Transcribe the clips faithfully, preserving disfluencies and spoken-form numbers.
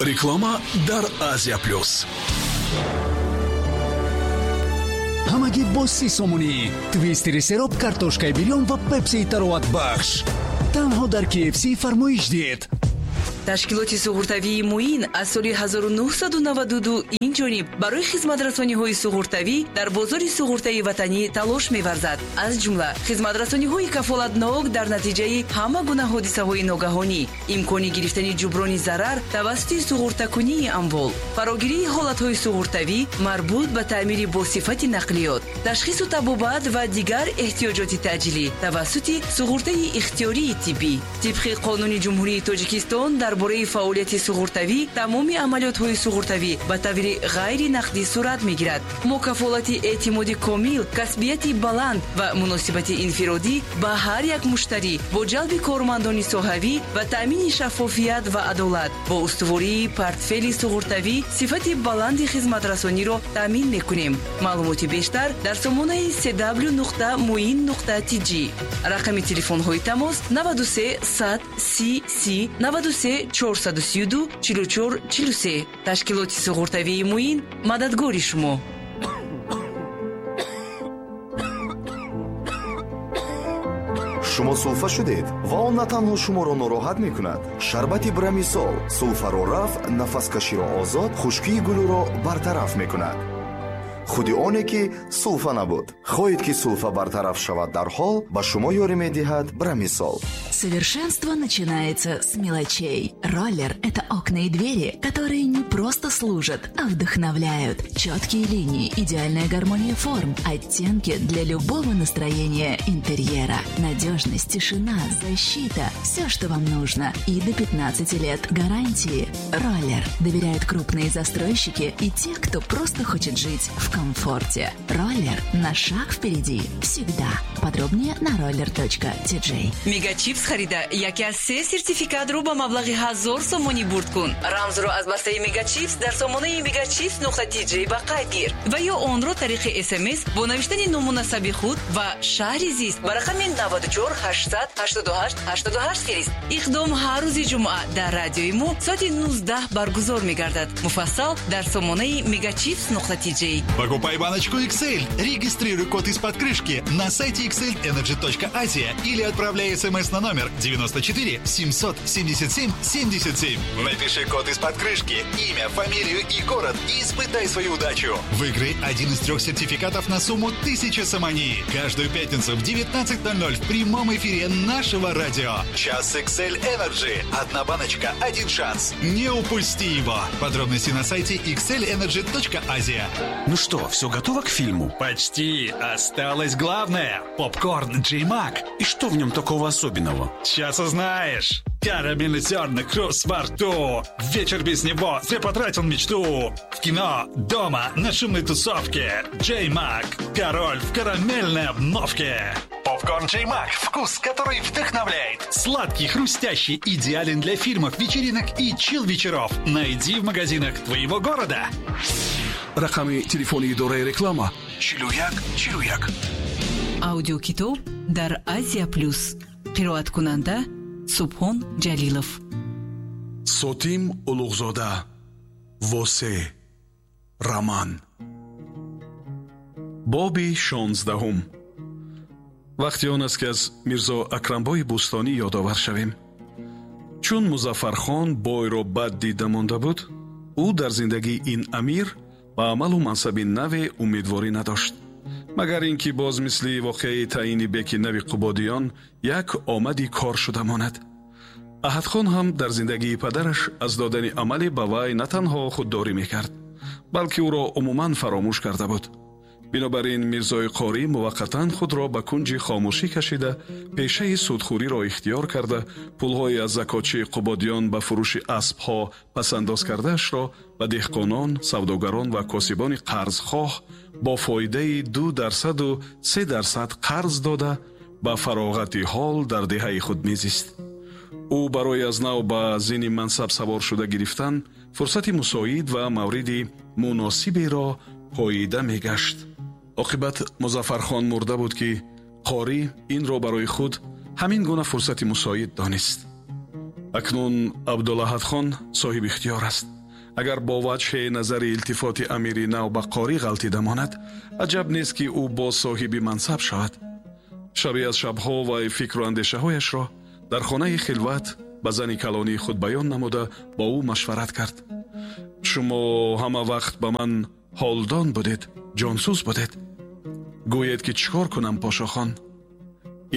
Реклама дар Азия Плюс. Ҳамагӣ бо си сомонӣ. Твистери сероб, картошкаи бирён ва пепсии тароватбахш. Танҳо дар K F C фармоиш диҳед. Ташкилоти суғуртавии Муин аз соли ҳазору нӯҳсаду наваду ду ин ҷониб барои хизматрасониҳои суғуртавӣ дар бозори суғуртаи ватанӣ талош меварзад. Аз ҷумла хизматрасониҳои кафолатнок дар натиҷаи ҳама гуна ҳодисаҳои ногаҳонӣ, имкони гирифтани ҷуброни зарар тавассути суғуртакунии амвол, фарогирии ҳолатҳои суғуртавӣ марбут ба таъмири босифати нақлиёт, ташхису табобат ва дигар эҳтиёҷоти таъҷилӣ тавассути суғуртаи ихтиёрии тиббӣ. Тибқи Қонуни Ҷумҳурии Тоҷикистон дар бораи фаъолияти суғуртавӣ, тамоми амалиётҳои суғуртавӣ ба таври ғайри нақдӣ сурат мегирад. Мо кафолати эътимоди комил, касбияти баланд ва муносибати инфиродӣ ба ҳар як муштарӣ бо ҷалби кормандони соҳавӣ ва таъмини шаффофият ва адолат бо устувории портфели суғуртавӣ сифати баланди хизматрасониро таъмин мекунем. Маълумоти бештар дар сомонаи cw нуқта муин нуқта tj. Рақами телефонҳои тамос: наваду се сад си си, наваду се чорсаду сию ду чилу чор чилу се. Ташкилоти суғуртавии Муин мададгори шумо. Шумо сулфа шудед ва он на танҳо шуморо нороҳат мекунад. Шарбати Брамисол сулфаро рафъ, нафаскаширо озод, хушкии гулӯро бартараф мекунад. Худи оне ки сулфа набуд. Хоҳед, ки сулфа бартараф шавад дарҳол, ба шумо ёрӣ медиҳад Брамисол. Совершенство начинается с мелочей. Роллер – это окна и двери, которые не просто служат, а вдохновляют. Четкие линии, идеальная гармония форм, оттенки для любого настроения интерьера. Надежность, тишина, защита – все, что вам нужно. И до пятнадцати лет гарантии. Роллер. Доверяют крупные застройщики и те, кто просто хочет жить в комфорте. Роллер на шаг впереди. Всегда. Подробнее на roller точка T J. Мегачипс харида, яке аз се сертификатро ба маблағи ҳазор сомонӣ бурд кун. Рамзро аз бастаи Мегачипс дар сомонаи мегачипс нуқта tj ба қайд гир ва ё онро тариқи С М С бо навиштани ному насаби худ ва шаҳри зист ба рақами наваду чор ҳаштсаду ҳаштоду ҳашт ҳаштоду ҳашт фирист. Иқдом ҳар рӯзи ҷумъа дар радиои мо соати нуздаҳ баргузор мегардад. Муфассал дар сомонаи мегачипс нуқта tj. Покупай баночку X L. Регистрируй код из-под крышки на сайте xlenergy точка asia или отправляй смс на номер девяносто четыре семьсот семьдесят семь семьдесят семь. Напиши код из-под крышки, имя, фамилию и город и испытай свою удачу. Выиграй один из трех сертификатов на сумму тысяча сомони. Каждую пятницу в девятнадцать ноль ноль в прямом эфире нашего радио. Час X L Energy. Одна баночка, один шанс. Не упусти его. Подробности на сайте xlenergy точка asia. Ну что, все готово к фильму? Почти. Осталось главное. Попкорн Джей Мак. И что в нем такого особенного? Сейчас узнаешь. Карамельный зерна, хруст во рту. Вечер без него зря потратил мечту. В кино, дома, на шумной тусовке. Джей Мак. Король в карамельной обновке. Попкорн Джей Мак. Вкус, который вдохновляет. Сладкий, хрустящий, идеален для фильмов, вечеринок и чил-вечеров. Найди в магазинах твоего города. Рақами телефони идораи реклама: чилу як чилу як. Аудиокитоб дар Азия Плюс. Қироаткунанда Субҳон Ҷалилов. Сотим Улуғзода, Восе. Роман. Боби шонздаҳум. Вақти он аст, ки аз Мирзо Акрамбои Бӯстонӣ ёдовар шавем. Чун Музаффархон бойро бад дида монда буд, ӯ дар зиндагии ин амир ба амалу мансаби наве умедворӣ надошт, магар ин ки боз мисли воқеаи таъини беки нави Қубодиён як омади кор шуда монад. Аҳадхон ҳам дар зиндагии падараш аз додани амале ба вай на танҳо худдорӣ мекард, балки ӯро умуман фаромӯш карда буд. Бинобар ин Мирзои Қорӣ муваққатан худро ба кунҷи хомӯшӣ кашида, пешаи судхӯриро ихтиёр карда, пулҳои аз закотчии Қубодиён ба фурӯши аспҳо пасандоз кардаашро ба деҳқонон, савдогарон ва косибони қарзхоҳ бо фоидаи ду дарсаду се дарсад қарз дода, ба фароғати ҳол дар деҳаи худ мезист. Ӯ барои аз нав ба зини мансаб савор шуда гирифтан фурсати мусоид ва мавриди муносиберо поида мегашт. Оқибат Музаффархон мурда буд, ки Қорӣ инро барои худ ҳамин гуна фурсати мусоид донист. Акнун Абдулаҳадхон соҳиби ихтиёр аст. Агар бо ваҷҳи назари илтифоти амири нав ба қорӣ ғалтида монад, аҷаб нест, ки ӯ боз соҳиби мансаб шавад. Шабе аз шабҳо вай фикру андешаҳояшро дар хонаи хилват ба зани калонии худ баён намуда бо ӯ машварат кард. Шумо ҳама вақт ба ман ҳолдон будед, ҷонсӯз будед. Гӯед, ки чӣ кор кунам, Пошохон?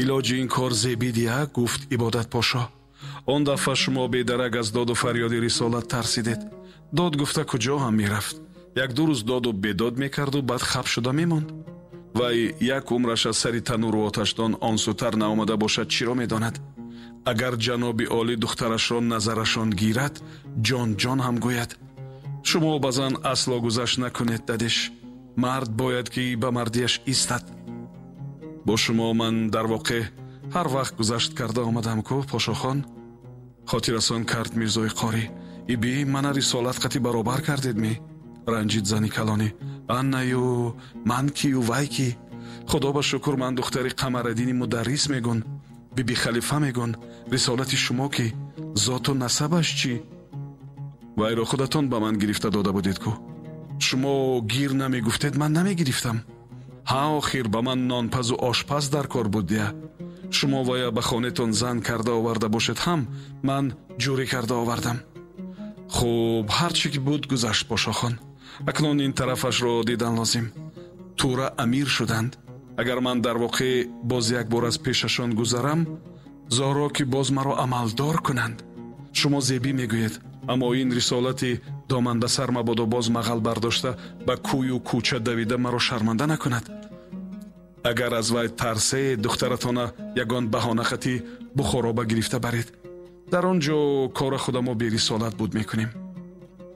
Илоҷи ин кор зебидия, гуфт Ибодатпошо. Он дафъа шумо бедарак аз доду фарёди рисолат тарсидед. Дод гуфта куҷо ҳам мерафт. Як-ду рӯз доду бедод мекарду баъд хаб шуда мемонд. Вай як умраш аз сари тануру оташдон он сӯтар наомада бошад, чиро медонад? Агар ҷаноби олӣ духтарашро назарашон гирад, ҷон ҷон ҳам гӯяд. Шумо ба зан асло гузашт накунед, дадеш. Мард бояд, ки ба мардияш истад. Бо шумо ман дар воқеъ ҳар вақт гузашт карда омадам ку, Пошохон? Хотиррасон кард Мирзои қорӣ. Иби мана рисолат қати баробар кардед ми? Ранҷид зани калонӣ. Аннаю ман кию вай ки? Худо ба шукр, ман духтари Қамараддини мударрис мегун, биби Халифа мегун. Рисолати шумо ки? Зоту насабаш чӣ? Вайро худатон ба ман гирифта дода будед ку. Шумо гир намегуфтед, ман намегирифтам. Ҳа, охир ба ман нонпазу ошпаз дар кор буд дия. Шумо вая ба хонетон зан карда оварда бошед ҳам, ман ҷурӣ карда овардам. Хуб, ҳар чӣ ки буд гузашт, Пошохон. Акнун ин тарафашро дидан лозим. Тура амир шуданд. Агар ман дар воқеъ боз як бор аз пешашон гузарам, зоро ки боз маро амалдор кунанд. Шумо зебӣ мегӯед, аммо ин рисолати доман ба сар мабодо боз мағал бардошта ба кӯю кӯча давида маро шарманда накунад. Агар аз вай тарсе, духтаратона ягон баҳонахатӣ Бухороба гирифта баред. Дар он ҷо кора худамо берисолат буд мекунем.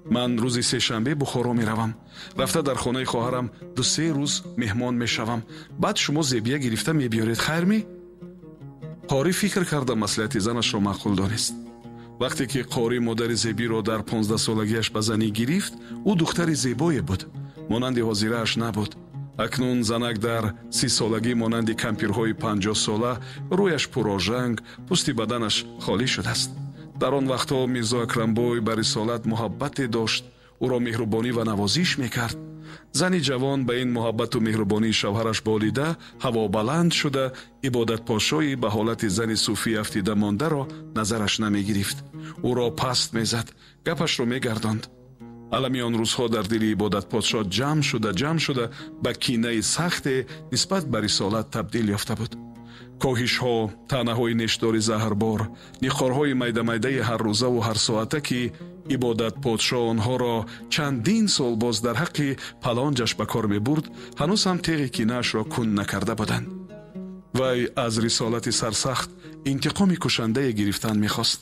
Ман рӯзи сешанбе Бухоро меравам. Рафта дар хонаи хоҳарам ду-се рӯз меҳмон мешавам. Баъд шумо зебия гирифта мебиёред, хайр ми? Қорӣ фикр карда маслиҳати занашро маъқул донист. Вақте ки қорӣ модари зебиро дар понздаҳсолагиаш ба занӣ гирифт, ӯ духтари зебое буд, монанди ҳозирааш набуд. Акнун занак дар сисолагӣ монанди кампирҳои панҷоҳсола рӯяш пурожанг, пӯсти баданаш холӣ шудааст. Дар он вақтҳо Мирзо Акрамбой ба рисолат муҳаббате дошт, ӯро меҳрубонӣ ва навозиш мекард. Зани ҷавон ба ин муҳаббату меҳрубонии шавҳараш болида, ҳавобаланд шуда, ибодатпошои ба ҳолати зани суфӣ афтида мондаро назараш намегирифт. Ӯро паст мезад, гапашро мегардонд. Алами он рӯзҳо дар дили ибодатподшо ҷамъ шуда ҷамъ шуда ба кинаи сахте нисбат ба рисолат табдил ёфта буд. Коҳишҳо, таънаҳои нештори заҳрбор, ниқорҳои майда-майдаи ҳаррӯзаву ҳарсоата, ки ибодатподшо онҳоро чандин сол боз дар ҳаққи палонҷаш ба кор мебурд, ҳанӯз ҳам теғи кинаашро кун накарда буданд. Вай аз рисолати сарсахт интиқоми кушандае гирифтан мехост.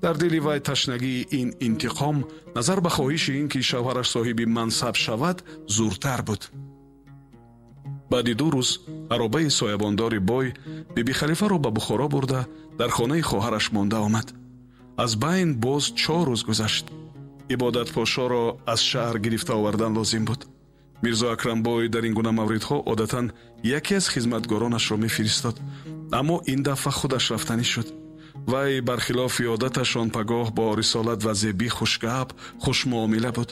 Дар дили вай ташнагии ин интиқом назар ба хоҳиши ин ки шавҳараш соҳиби мансаб шавад зуртар буд. Баъди ду рӯз аробаи соябондори бой биби Халифаро ба Бухоро бурда дар хонаи хоҳараш монда омад. Аз байн боз чор рӯз гузашт. Ибодатпошоро аз шаҳр гирифта овардан лозим буд. Мирзо Акрамбой дар ин гуна мавридҳо одатан яке аз хизматгоронашро мефиристод, аммо ин дафъа худаш рафтанӣ шуд. Вай бархилофи одаташ он пагоҳ бо рисолат ва зебӣ хушгап, хушмуомила буд.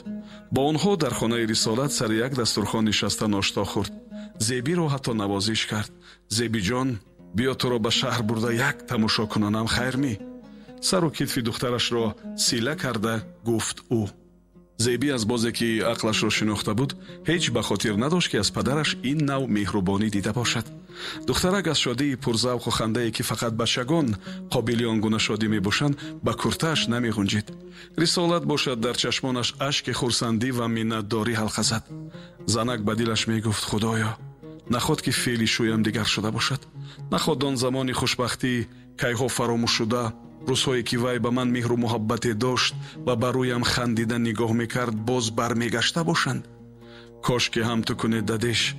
Бо онҳо дар хонаи рисолат сари як дастурхон нишаста ношто хӯрд. Зебиро ҳатто навозиш кард. Зебиҷон, биё туро ба шаҳр бурда як тамошо кунонам, хайр ми? Сару китфи духтарашро сила карда гуфт ӯ. Зебӣ аз бозе ки ақлашро шинохта буд, ҳеҷ ба хотир надошт, ки аз падараш ин нав меҳрубонӣ дида бошад. Духтарак аз шодии пурзавқу хандае, ки фақат бачагон қобили он гуна шодӣ мебошанд, ба куртааш намеғунҷид. Рисолат бошад дар чашмонаш ашки хурсандӣ ва миннатдорӣ ҳалқа зад. Занак ба дилаш мегуфт: Худоё, наход ки феъли шӯям дигар шуда бошад. Наход он замони хушбахтӣ кайҳо фаромӯш шуда, рӯзҳое ки вай ба ман меҳру муҳаббате дошт ва ба рӯям хандида нигоҳ мекард, боз бармегашта бошанд. Кош ки ҳам ту кунед, дадеш.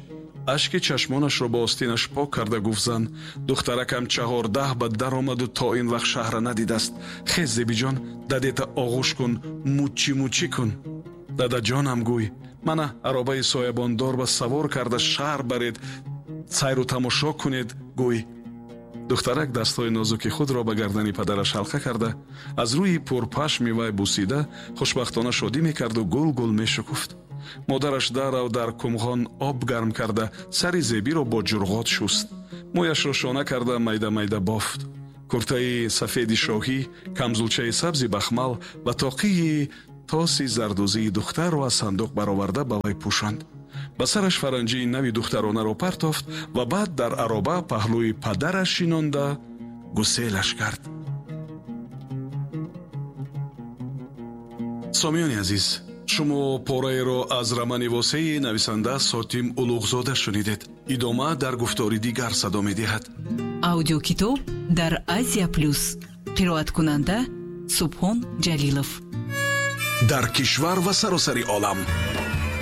Ашки чашмонашро бо остинаш пок карда гуфт зан: духтаракам чаҳордаҳ ба даромаду то ин вақт шаҳра надидааст. Хез, зебиҷон, дадета оғӯш кун, муччи муччӣ кун. Дадаҷонам гӯй, мана аробаи соябондор ба савор карда шаҳр баред, сайру тамошо кунед, гӯй. Духтарак дастҳои нозуки худро ба гардани падараш ҳалқа карда, аз рӯи пурпашми вай бусида, хушбахтона шодӣ мекарду гул-гул мешукуфт. Модараш дарав дар кумғон об гарм карда, сари Зебиро бо ҷурғот шуст, мӯяшро шона карда, майда-майда бофт. Куртаи сафеди шоҳӣ, камзулчаи сабзи бахмал ва тоқии тоси зардӯзии духтарро аз сандуқ бароварда ба вай пӯшонд. Ба сараш фаранҷии нави духтаронаро партофт ва баъд дар ароба паҳлӯи падараш шинонда гуселаш кард. Сомиёни азиз, шумо пораеро аз романи восеи нависанда Сотим Улуғзода шунидед. Идома дар гуфтори дигар садо медиҳад. Аудиокитоб дар Азия Плюс. Қироаткунанда Субҳон Ҷалилов. Дар кишвар ва саросари олам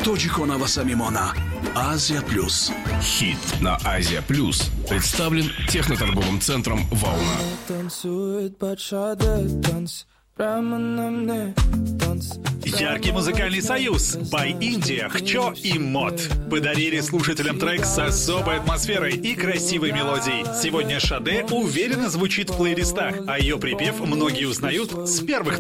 тоҷикона ва самимона Азия Плюс. Хит на Азия Плюс представлен техноторговым центром «Волна». Танцует бачата, танц прямо на мне, танц. Яркий музыкальный союз By India, Хчо и Мот подарили слушателям трек с особой атмосферой и красивой мелодией. Сегодня Шаде уверенно звучит в плейлистах, а ее припев многие узнают с первых нот.